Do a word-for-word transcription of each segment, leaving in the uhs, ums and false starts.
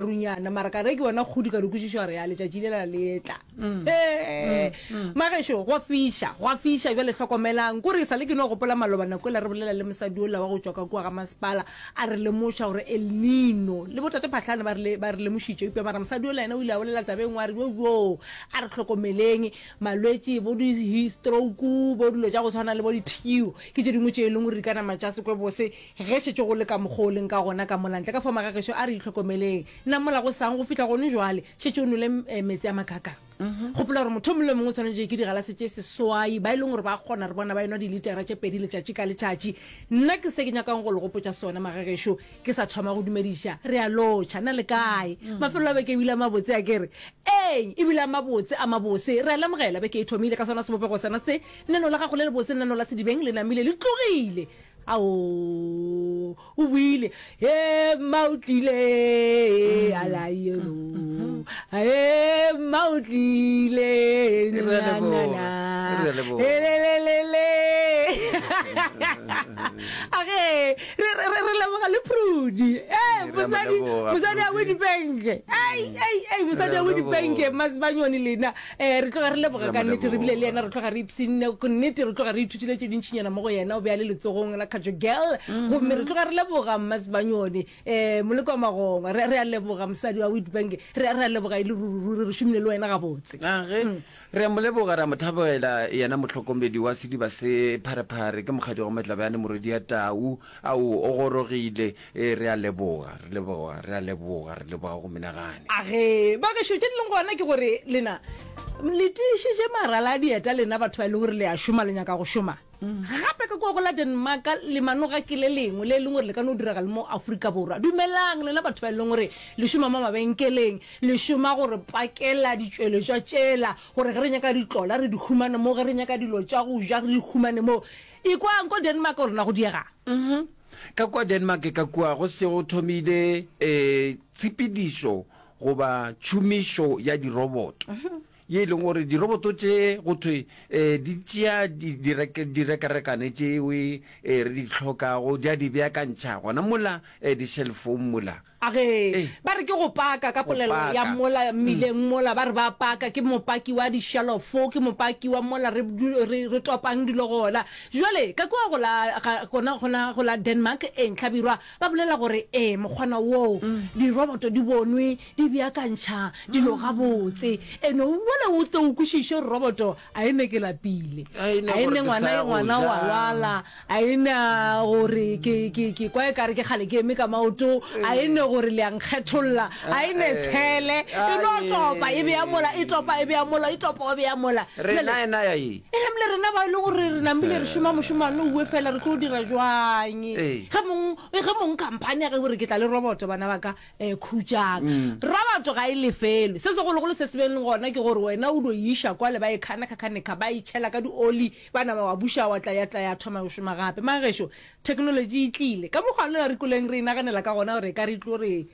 Runyana mara ka re ke bona kgodi ka re kwešiša gore ya letšatši lela le etla. Ee, magešo gwa fiša, gwa fiša bjale hlokomelang. Kore e sa le ke no gopola maloba nako ela re bolela le mosadi ola wa go tšwa ka kua ga masepala a re lemoša gore El Nino le botate Phahlane ba re ba re lemošitše eupša mara mosadi ola yena o ile a bolela taba e nngwe a re yo yo a re hlokomeleng malwetši bo di stroke bo dilo tša go tshwana le bo dipshio ke tše dingwe tše e leng gore di ka nama tša se kwe bose ge šetše go le ka mokgwa o leng ka gona ka mola ntle ka fao magagešo a re itlhokomeleng nna mola go sang go fihla gone jwale šetše o nwele eh, metsi a makakang gopola gore motho o mongwe le mongwe o tshwanetse ke digalase tše seswai ba e leng gore ba kgona re bona ba enwa dilitera tše pedi letšatši ka letšatši nna ke se ke nyakang go le gopotša sona magagešo ke sa thoma go dumediša re a lotšha na le kae mafelo a beke ebile a mabotse a kere ee ebile a mabotse a mabose re a lemogela beke e thomile ka sona sebopego sena se neno la gago le lebose neno la sedibeng le namile le tlogile ao o buile e mma o tlile alayelo e mma o tlile Re a leboga, re a leboga. elelelele age re re re leboga le Prudi e Re a mo mosadi leboga, mosadi a Prudi. Witbank ei ei ei mosadi Re a a Witbank leboga. Masibanyoni lena eh re tloga re leboga Re a ka mo nnete re bile le yena leboga. re tloga re ipshinne nnete re tloga re ithutile tše dintšinyana mo go yena o be a le letsogong la Khatjo Girl gomme re tloga re leboga Mmasibanyoni um moleko wa magongwa re re a leboga mosadi wa Witbank re re a leboga e le ruri re šomile le wena gabotse age re a mo leboga re a mo thabela yena mohlokomedi wa sediba se pharephare ke mokgadi wa Matlabjane morwedi ya tau ao o gorogile e re a leboga re leboga re a leboga re leboga go menagane age bagešo tše di leng gona ke gore lena le tiišitše marala a dieta lena batho ba e leng gore le a šoma le nyaka go šoma gape ka kua go la Denmark le manoga ke le lengwe le e leng gore le ka no direga le mo Afrika Borwa dumelang lena batho ba e leng gore le šoma mo mabenkeleng le šoma gore pakela ditšweletšwa tšela gore ge re nyaka ditlola re di humane mo ge re nyaka dilo tša go ja re di humane mo ikwang ko Denmark gore na go diega ka kua Denmark ka kua go se go thomile um tshepedišo goba tšhomišo ya diroboto ye e leng gore diroboto tše go thwe um di tšea di- direke- direkarekane tšewe um re di tlhokago di a di beakantšha gona mola um di-shelfong mola age Ee. ba re ke go paka ka Go polelo ya paka. mola mmileng mola ba re ba paka ke mopaki wa dishelofo ke mopaki wa mola re du- re re topang dilo gona jwale ka kua go la ga- gona gona go la Denmark e ntlhabirwa ba bolela gore ee mokgwana woo diroboto di bonwe di beakantšha dilo gabotse ene jale o tle o kwešiše gore roboto a e ne ke lapile A e ne a e gore ne ke ngwana sa e ya go ngwana wa ja. lwala a e na gore ke ke ke kwa e kare ke kgale ke eme ka maoto a e ne gore le a nkgetholla a e ne tshele e no topa e bea mola e topa e bea mola e topa e bea mola rena ena ya e e namile rena ba e le gore re namile re šoma mošomane owe fela re tlo dira jwang Ee. ge mong ge mong company ya ge gore ke tla le roboto bana ba ka um khutšang roboto ga e lefelwe se segologolo se se beng gona ke gore wena o do iša kwale ba e kganakgakganekga ba e tšhela ka dioli ba nama wa buša wa tla ya tla ya thoma go šoma gape magešo technology e tlile ka mokgwa lela re koleng re inaganela ka gona gore e ka re tlo re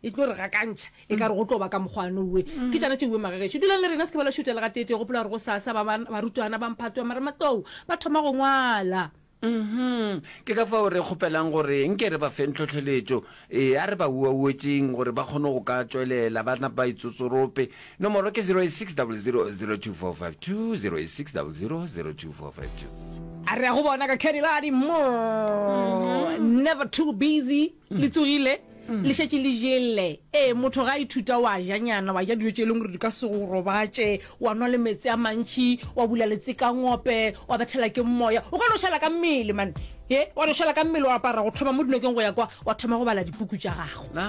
e tlo re gakantšha e ka re go tlo ba ka mokgwane owe ke tšana tše uwe magagešo dulang le rena se ke ba la šutela ga tete gopola gore go sasa ba ba- barutwana ba mphato wa marematlou ba thoma go ngwala Mhm. Ke ka fao re kgopelang gore nke re ba feng tlhohleletšo e a re ba uauetseng gore ba kgone go ka tšwelela ba napa ba itsotsorope nomoro ke zero eight six double zero zero two four five two zero eight six double zero zero two four five two a re ya go bona ka Cadilladi more never too busy le tsogile le šetše le jele ee motho ga a ithuta wa janyana wa ja dijo tše e leng gore di ka se go robatše wa nwa le metsi a mantšhi wa bula letsekangope wa bethela ke moya o ka no šala ka mmele man e wa no šala ka mmele wa apara go thoma mo dinokeng go ya kwa wa thoma go bala dipuku tša gago Na